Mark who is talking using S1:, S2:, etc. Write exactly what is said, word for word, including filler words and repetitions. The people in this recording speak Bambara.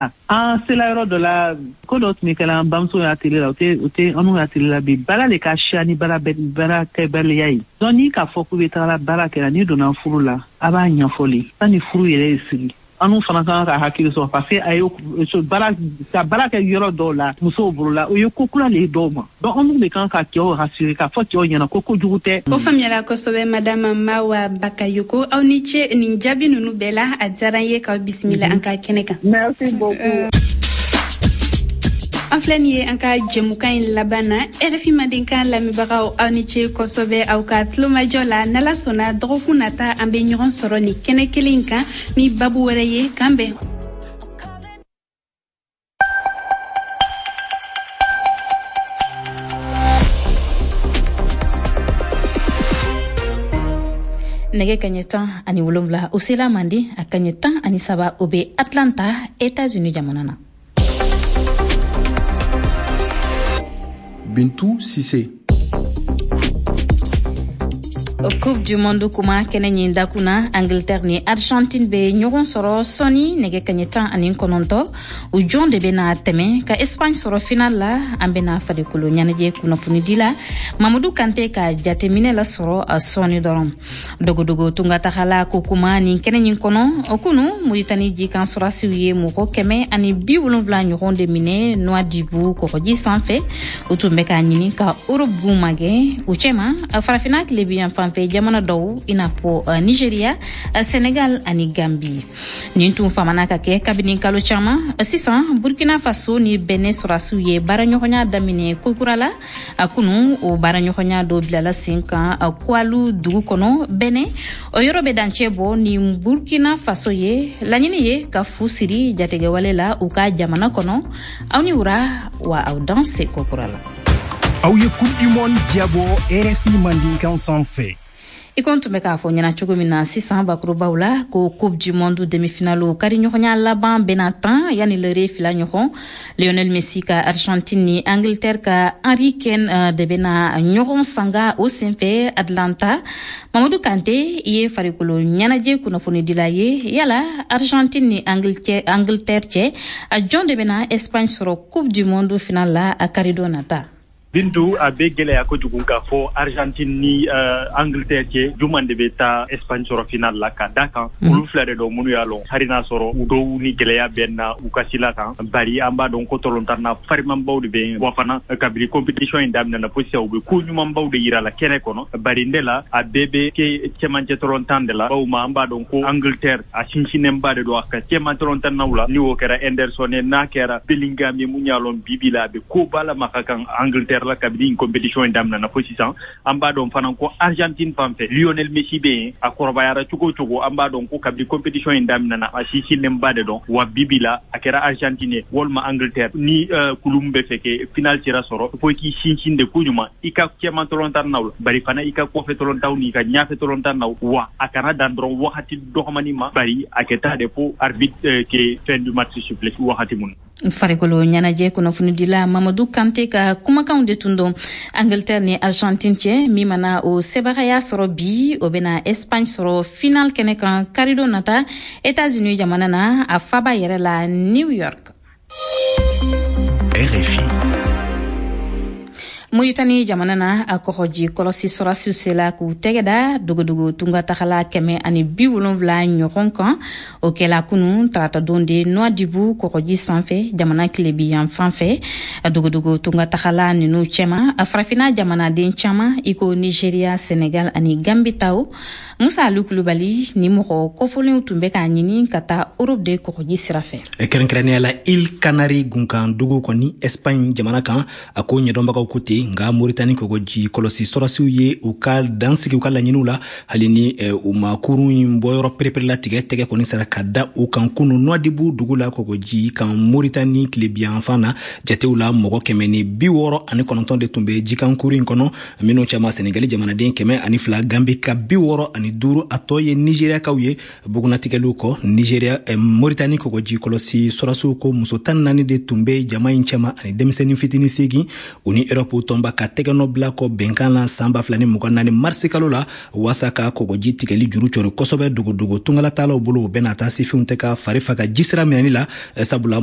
S1: An sela yɔrɔ dɔ la, ko dɔ tun bɛ kɛla an bamuso y'a tele la, o tɛ o tɛ anw ka tele la bi. Baara le ka siya ni baara baara kɛbaliya ye. Donc n'i k'a fɔ k'u bɛ taga baara kɛra, n'i donna furu la, a b'a ɲɛfɔ le sani furu yɛrɛ ye sigi. Anw fana kan ka hakili sɔrɔ, parce que a ye baara ka baara kɛ yɔrɔ dɔw la musow bolo la, o ye ko kura le ye dɔw ma. Donc anw de kan ka cɛw rassurer, k'a fɔ cɛw ɲɛna ko kojugu tɛ.
S2: O faamuyala kosɛbɛ, madame Mawa Bakayoko. Aw ni ce nin jaabi ninnu bɛɛ la. A diyara n ye k'aw bisimila an ka kɛnɛ kan.
S1: Merci beaucoup.
S2: An filɛ nin ye an ka jɛmukan in laban na. R F I Mandenkan lamɛnbagaw, aw ni ce kosɛbɛ aw ka tulomajɔ la. N'Ala sɔnna, dɔgɔkun nata an bɛ ɲɔgɔn sɔrɔ nin kɛnɛ kelen in kan ni babu wɛrɛ ye. K'an bɛn.
S3: Nɛgɛ kaɲɛ tan ani wolonwula, o sela Manden, a kaɲɛ tan ani saba, o bɛ Atlanta, Etats-Unis jamana na.
S4: Bintu Sise.
S3: Coupe du monde kuma kɛnɛ ɲin dakun na, Angleterre ni Argentine bɛ ɲɔgɔn sɔrɔ sɔni nɛgɛ kaɲɛ tan ani kɔnɔntɔ. U jɔn de bɛna tɛmɛ ka Espagne sɔrɔ final la? An bɛna farikolo ɲɛnajɛ kunnafonidi la Mamadu Kante ka jateminɛ la sɔrɔ sɔɔni dɔrɔn. Dogodogo tungatagala ko kuma nin kɛnɛ ɲin kɔnɔ, o kunu Muritani jikan sɔrasiw ye mɔgɔ kɛmɛ ani bi wolonfila ɲɔgɔn de minɛ Nouadhibou kɔgɔji sanfɛ. U tun bɛ k'a ɲini ka Europe gun magɛn, u cɛma Farafina tilebiyan fanfɛ jamana dɔw, i n'a fɔ Nigeria, Senegal ani Gambi. Nin tun famana ka kɛ kabini kalo caman sisan. Burkina Faso ni Benin sɔrasiw ye baaraɲɔgɔnya daminɛ kokura la a kunu. O baaraɲɔgɔnya dɔ bilala sen kan Koualou dugu kɔnɔ Benin, o yɔrɔ bɛ dancɛ bɔ ni Burkina Faso ye. Laɲini ye ka fu siri jatigɛwale la u ka jamana kɔnɔ. Aw ni wura wa, aw danse kokura la.
S5: Aw ye Coupe du monde jabɔ R F I Mandinkan sanfɛ.
S3: I ko n tun bɛ k'a fɔ ɲɛna cogo min na sisan bakurubaw la, ko Coupe du monde demi-finale kari ɲɔgɔnya laban bɛna tan yanni lere fila ɲɔgɔn. Lionel Messi ka Argentine ni Angleterre ka Harry Kane de bɛna ɲɔgɔn sanga o senfɛ Atlanta. Mamadu Kante, i ye farikolo ɲɛnajɛ kunnafonidila ye. Yala Argentine ni Angleterre cɛ, a jɔn de bɛna Espagne sɔrɔ Coupe du monde finale la a karidon nata?
S6: Bintu, a bɛ gɛlɛya kojugu k'a fɔ Argentine ni uh, Angleterre cɛ, juman de bɛ taa Espagne sɔrɔ final la, ka da kan mm. olu fila de dɔn minnu y'a lɔn, hali n'a sɔrɔ u dɔw ni gɛlɛya bɛ na u ka sila kan, bari an b'a dɔn ko tɔlɔntan farimanbaw de bɛ yen. Wa fana, kabini compétition in daminɛna fo sisan, u bɛ ko ɲumanbaw de yira la kɛnɛ kɔnɔ. Bari ne la, a bɛɛ bɛ kɛ cɛmancɛ tɔlɔntan de la, bawo ma an b'a dɔn ko Angleterre a sinsinnenba de don a ka cɛman tɔlɔntannaw la, ni o kɛra Henderson ye, n'a kɛra Bellingham ye, mun y'a lɔn bibi la a bɛ koba la ma ka kan Angleterre la kabini compétition in daminɛna fo sisan. An b'a dɔn fana ko Argentine fan fɛ, Lionel Messi bɛ yen. A kɔrɔbayara cogo o cogo, an b'a dɔn ko kabini compétition in daminɛna, a sinsinnenba de dɔn. Wa bibi la, a kɛra Argentine ye walima Angleterre, ni uh, kulu min bɛ fɛ ke final sira sɔrɔ, fo i k'i sinsin de koɲuman i ka cɛman tɔlɔntan naw la, bari fana i ka kɔfɛ tɔlɔntaw n'i ka ɲafɛ tɔlɔntan naw. Wa a kana dan dɔrɔn wagati dɔgɔmani ma, bari a kɛ taa de fo arbitre euh, ke fin du match siffler wagati mun.
S3: Farikolo ɲɛnajɛ kunnafonidila Mamadu Kante ka kumakanw de tun don. Angleterre ni Argentine cɛ, min mana o sebagaya sɔrɔ bi, o bena Espagne sɔrɔ final kɛnɛ kan karidon nata États-Unis jamana na, a faba yɛrɛ la, New York.
S7: R F I.
S3: Muritani jamana na, a kɔgɔji kɔlɔsi sɔrasiw sela k'u tɛgɛ da dogodogo tungatagala kɛmɛ ani bi wolonfila ɲɔgɔn kan. O kɛla kunu taratadon de Nouadhibou kɔgɔji sanfɛ, jamana tilebi yan fan fɛ. Dogodogo tungatagala nunu cɛma, Farafina jamanaden caaman, i ko Nigeria, Senegal ani Gambi taw. Musa Alu Kulubali, ni mɔgɔ kɔfɔlenw tun bɛ k'a ɲini ka taa Europe de kɔgɔji sira fɛ.
S8: Kɛrɛnkɛrɛnnenya la, Îles Canaries gunkan dugu kɔni, Espagne jamana kan. A ko ɲɛdɔnbagaw ko ten, nka Moritani kɔgɔji kɔlɔsi sɔrɔsiw ye u ka dan sigi u ka laɲiniw la, hali ni u ma kurun in bɔyɔrɔ pereperelatigɛ. Tɛgɛ kɔni sara ka da u kan kunu Nouadhibou dugu la, kɔgɔji kan, Moritani tilebiyanfan na. Jatew la, mɔgɔ kɛmɛ ni bi wɔɔrɔ ani kɔnɔntɔn de tun bɛ jikankuru in kɔnɔ, minnu cɛma Senegali jamanaden kɛmɛ ani fila, Gambi ka bi wɔɔrɔ ani duuru, a tɔ ye Nigeriakaw ye. Bugunatigɛliw kɔ, Nigeria eh, Moritani kɔgɔji kɔlɔsi sɔrɔsiw ko muso tan naani de tun bɛ jama in cɛma ani denmisɛnnin fitinin seegin. U ni Europe Tɔnba ka tɛgɛnɔ bila kɔ bɛnkan na san ba fila ni mugan naani marisi kalo la, waasa ka kɔgɔji tigɛli juru cɔri kosɛbɛ dogodogo tungalatalaw bolo. O bɛna taa sifinw tɛ ka fari faga jisira minɛni la, sabula